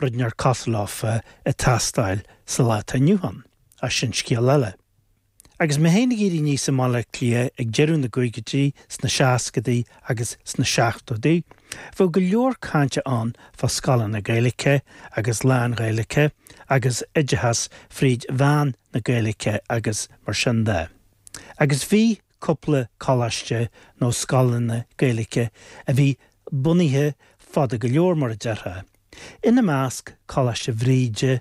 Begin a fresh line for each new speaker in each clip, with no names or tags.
rud inteacht cosúil leofa ag teastáil sa lá atá inniu ann, ach sin scéal eile. Agus mé féin ag éirí aníos i mBaile Átha Cliath ag deireadh na gcaogaidí, sna seascadaí agus sna seachtóidí, bheadh go leor cainte ann fá scoileanna Gaeilge agus lán-Ghaeilge agus oideachas fríd mheán na Gaeilge agus mar sin de. Agus bhí cúpla coláiste nó scoileanna Gaeilge a bhí bunaithe fada go leor mar a déarfá. Ina measc Coláiste Bhríde,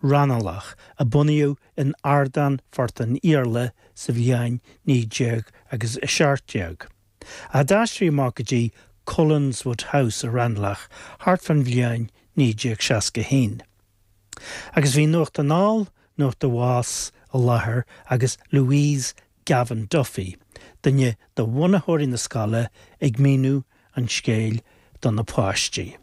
Raghnallach, a bunaíodh in Ardán Phort an Iarla sa bhliain 19 agus 17, a d'aistrigh amach go dtí Cullenswood House i Raghnallach thart fán bhliain 1961. Agus bhí Nuacht Anall, Nuacht Abhus i láthair agus Louise Gavan Duffy, duine de bhunaitheoirí na scoile, ag míniú an scéil do na páistí.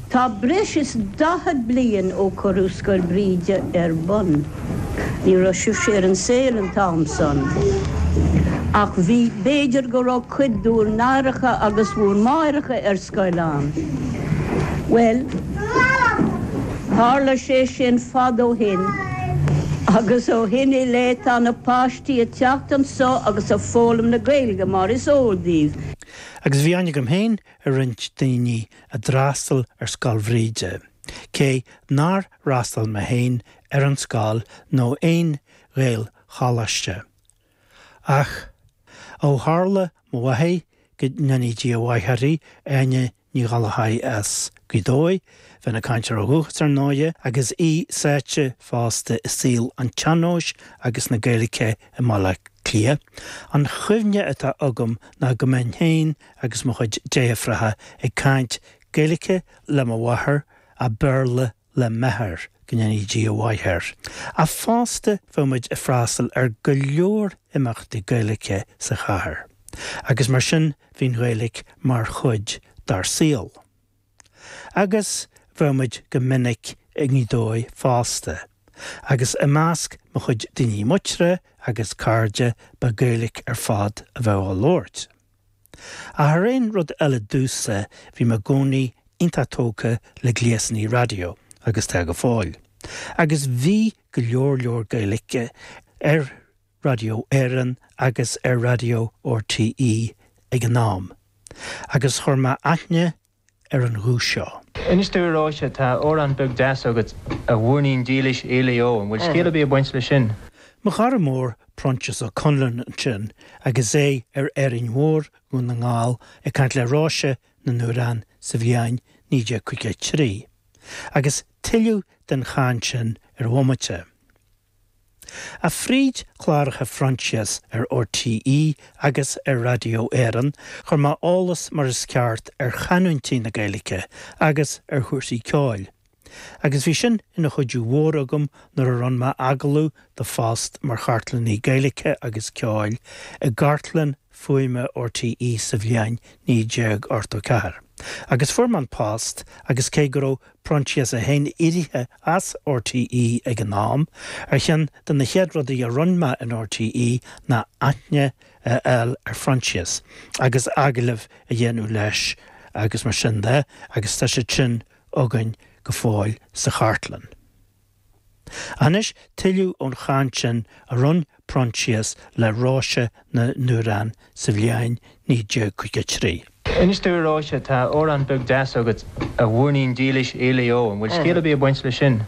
Tá breis is 40 bliain ó cuireadh Scoil Bhríde ar bun. Ní raibh sibhse ar an saol an t-am san. Ach bhí, b'fhéidir go raibh cuid d'úr n-aithreacha agus bhúr máithreacha ar scoil ann. Bhuel, tharla sé sin fad ó shin agus ó shin i leith tá na páistí ag teacht anso agus ag foghlaim na Gaeilge mar is eol daoibh.
Agus bhí aithne agam féin ar roinnt daoine a d'fhreastail ar Scoil Bhríde, cé nár fhreastail mé féin ar an scoil nó aon Ghaelcholáiste. Ach ó tharla mo mháthair, go ndéanaí Dia a mhaith uirthi, Áine Ní Ghallchóir as Gaoth Dobhair, bheith ina cainteoir ó dhúchas ar ndóighe, agus í sáite fosta i saol an tsean-nóis agus na Gaeilge i mBaile Átha Cliath. An chuimhne atá agam ná go mbeinn féin agus mo chuid deirfiúracha ag caint Gaeilge le mo mháthair, ach Béarla le m'athair, go ndéanaí Dia a mhaith air. Ach fosta bheadh muid ag freastal ar go leor imeachtaí Gaeilge sa chathair, agus mar sin bhí an Ghaeilge mar chuid dár saol. Agus bheadh muid go minic i nGaoth Dobhair fosta, agus i measc mo chuid daoine muinteartha agus cairde ba Ghaeilge ar fad a bheadh á labhairt. Ach thar aon rud eile domhsa, bhí mé i gcónaí iontach tógtha le gléasanna raidió, agus tá go fóill. Agus bhí go leor leor Gaeilge ar Raidió Éireann agus ar Raidió RTÉ ag an am. Agus chuir mé aithne ar an ghuth seo.
Inis dúinn a Róise, tá amhrán beag deas agat, A Mhúirnín Dílis Éalaigh Ó, an bhfuil scéal ar bith ag baint leis sin?
Mo chara mór Proinsias Ó Conluain ansin agus é ar Árainn Mhór, Dhún na nGall, ag caint le Róise na nAmhrán sa bhliain 1953. Agus tuilleadh den chaint sin ar bhomaite. Ach fríd chláracha Phroinsias ar RTÉ agus ar Raidió Éireann, chuir mé eolas mar is ceart ar chanúintí na Gaeilge agus ar chúrsaí ceoil. Agus bhí sin ina chuidiú mhór agam nuair a rinne mé agallamh do phost mar chartlannaí Gaeilge agus ceoil i gCartlann Fuaime RTÉ sa bhliain 1984. Agus fuair mé an post agus cé go raibh Proinsias é féin éirithe as RTÉ ag an am, ar cheann de na chéad rudaí a rinne mé in RTÉ ná aithne a fháil ar Phroinsias agus agallamh a dhéanamh leis agus mar sin de agus tá siad sin againn go fóill sa chartlann. Anois tuilleadh ón chaint sin a rinne Proinsias le Róise na nAmhrán sa bhliain 1953.
Inis dúinn a Róise, tá amhrán beag deas agat, A Mhúirnín Dílis Éalaigh Ó, an bhfuil scéal ar bith ag baint leis sin?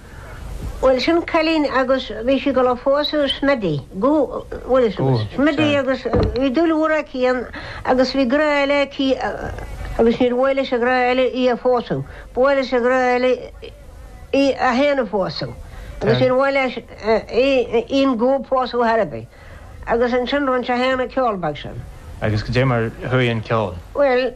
Bhuel, sin cailín agus bhí sí ag dul a phósadh Smithy, go, bhfuil fhios agat, Smithy agus bhí dúil mhór aici ann agus bhí grá eile aici agus níor mhaith leis an ghrá eile í a phósadh, ba mhaith leis an ghrá eile í a fhéin a phósadh agus níor mhaith leis í an gó pósadh thar ar bith. Agus ansin rinne sé féin an ceol beag sin.
Agus goidé mar chuaigh an ceol?
Bhuel.